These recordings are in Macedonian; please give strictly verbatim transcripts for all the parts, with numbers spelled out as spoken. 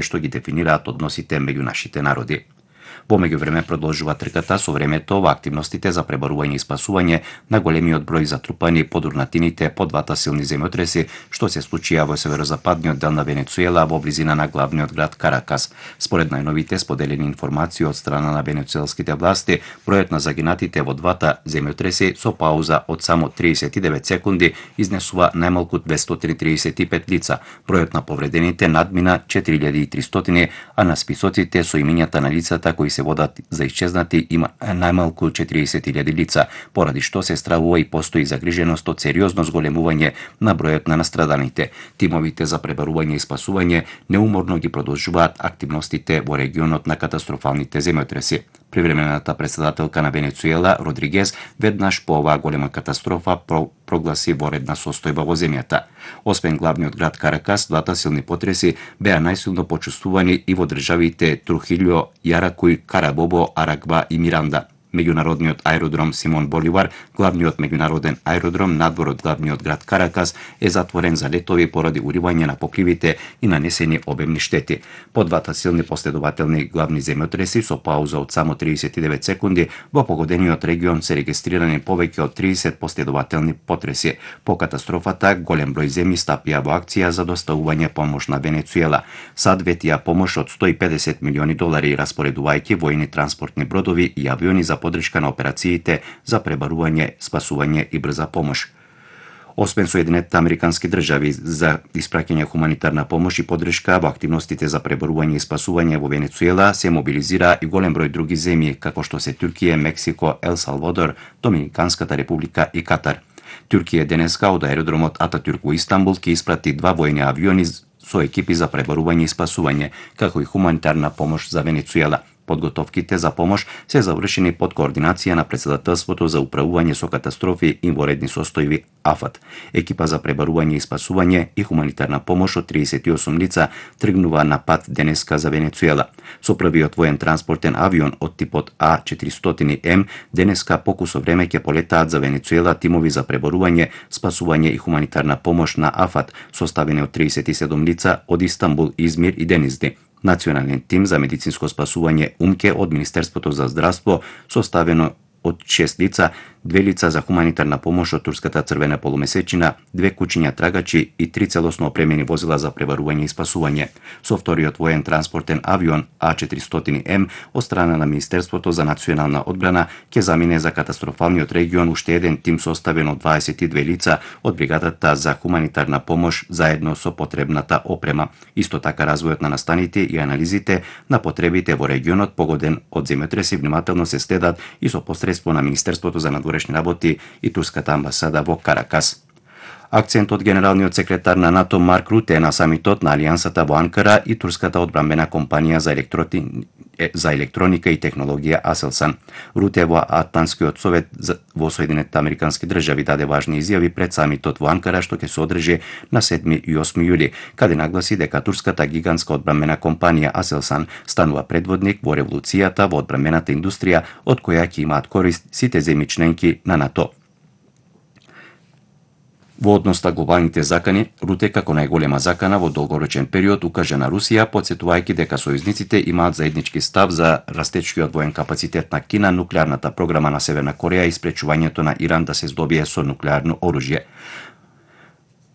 што ги дефинираат односите меѓу нашите народи. Во меѓувреме продолжува трката со времето во активностите за пребарување и спасување на големиот број затрупани подурнатините по двата силни земјотреси што се случија во северозападниот дел на Венецуела во близина на главниот град Каракас. Според најновите споделени информации од страна на венецуелските власти, бројот на загинатите во двата земјотреси со пауза од само триесет и девет секунди изнесува најмалку двестоци триесет и пет лица. Бројот на повредените надмина четири илјади и тристоти, а на списоците со имињата на лицата кои се водат за исчезнати има најмалку четириесет илјади лица, поради што се стравува и постои загриженост од сериозно зголемување на бројот на настраданите. Тимовите за пребарување и спасување неуморно ги продолжуваат активностите во регионот на катастрофалните земјотреси. Привремената председателка на Венецуела, Родригес, веднаш по оваа голема катастрофа прогласи воредна состојба во земјата. Освен главниот град Каракас, двата силни потреси беа најсилно почувствувани и во државите Трухилјо, Јаракуј, Карабобо, Арагба и Миранда. Меѓународниот аеродром Симон Боливар, главниот меѓународен аеродром надвор од главниот град Каракас, е затворен за летови поради уривање на покривите и нанесени обемни штети. По двата силни последователни главни земјотреси со пауза од само триесет и девет секунди, во погодениот регион се регистрирани повеќе од триесет последователни потреси. По катастрофата, голем број земји стапија во акција за доставување помош на Венецуела. САД ветија помош од сто и педесет милиони долари, распоредувајќи војни транспортни бродови и авиони за подршка на операциите за пребарување, спасување и брза помош. Освен Соединетите Американски држави за испраќање хуманитарна помош и подршка во активностите за пребарување и спасување во Венецуела, се мобилизира и голем број други земји, како што се Туркија, Мексико, Ел Салвадор, Доминиканската република и Катар. Туркија денеска од аеродромот Ататюрк во Истанбул ќе испрати два војни авиони со екипи за пребарување и спасување, како и хуманитарна помош за Венецуела. Подготовките за помош се завршени под координација на Председателството за управување со катастрофи и воредни состојби АФАТ. Екипа за пребарување и спасување и хуманитарна помош од триесет и осум лица тргнува на пат денеска за Венецуела. Со првиот воен транспортен авион од типот А четиристотини М денеска покусо време ќе полетаат за Венецуела тимови за пребарување, спасување и хуманитарна помош на АФАТ, составени од триесет и седум лица од Истанбул, Измир и Денизли. Национален тим за медицинско спасување УМКЕ од Министерството за здравство, составено од шест лица, две лица за хуманитарна помош од Турската црвена полумесечина, две кучиња трагачи и три целосно опремени возила за пребарување и спасување. Со вториот воен транспортен авион А четиристотини М од страна на Министерството за национална одбрана ќе замине за катастрофалниот регион уште еден тим составен од дваесет и две лица од бригадата за хуманитарна помош заедно со потребната опрема. Исто така развојот на настаните и анализите на потребите во регионот погоден од земјотреси внимателно се следат и со посредство на Министерството за надворешни работи и Турската амбасада во Каракас. Акцентот генералниот секретар на НАТО Марк Руте на самитот на Алијансата во Анкара и турската одбранбена компанија за, електроти... за електроника и технологија Aselsan. Руте во Атлантскиот совет во Соединетите Американски држави даде важни изјави пред самитот во Анкара што ќе се одржи на седми и осми јули, каде нагласи дека турската гигантска одбранбена компанија Aselsan станува предводник во револуцијата во одбранбената индустрија од која ќе имаат корист сите земји членки на НАТО. Во однос на глобалните закани, Руте како најголема закана во долгорочен период укажа на Русија, потсетувајќи дека сојузниците имаат заеднички став за растечкиот воен капацитет на Кина, нуклеарната програма на Северна Кореја и спречувањето на Иран да се здобие со нуклеарно оружје.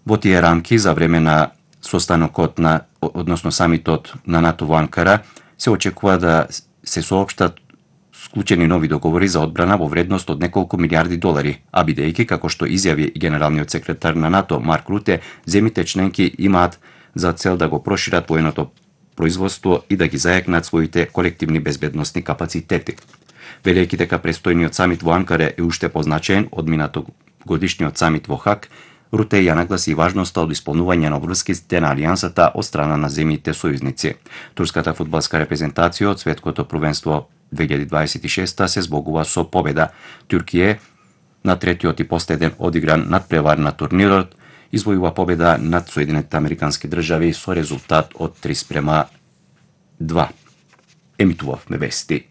Во тие рамки, за време на состанокот на, односно самитот на НАТО во Анкара, се очекува да се соопштат склучени нови договори за одбрана во вредност од неколку милиарди долари, а бидејќи, како што изјави генералниот секретар на НАТО Марк Руте, земите членки имаат за цел да го прошират военото производство и да ги зајакнат своите колективни безбедносни капацитети. Велејќи дека престојниот самит во Анкара е уште позначаен од минатогодишниот самит во Хаг, Руте ја нагласи важноста од исполнување на обврските на Алијансата од страна на земјите сојузници. Турската фудбалска репрезентација од светското првенство две илјади дваесет и шеста се збогува со победа. Туркија на третиот и последен одигран надпревар на турнирот извојува победа над Соединетите Американски држави со резултат од три спрема два. Емитувавме вести.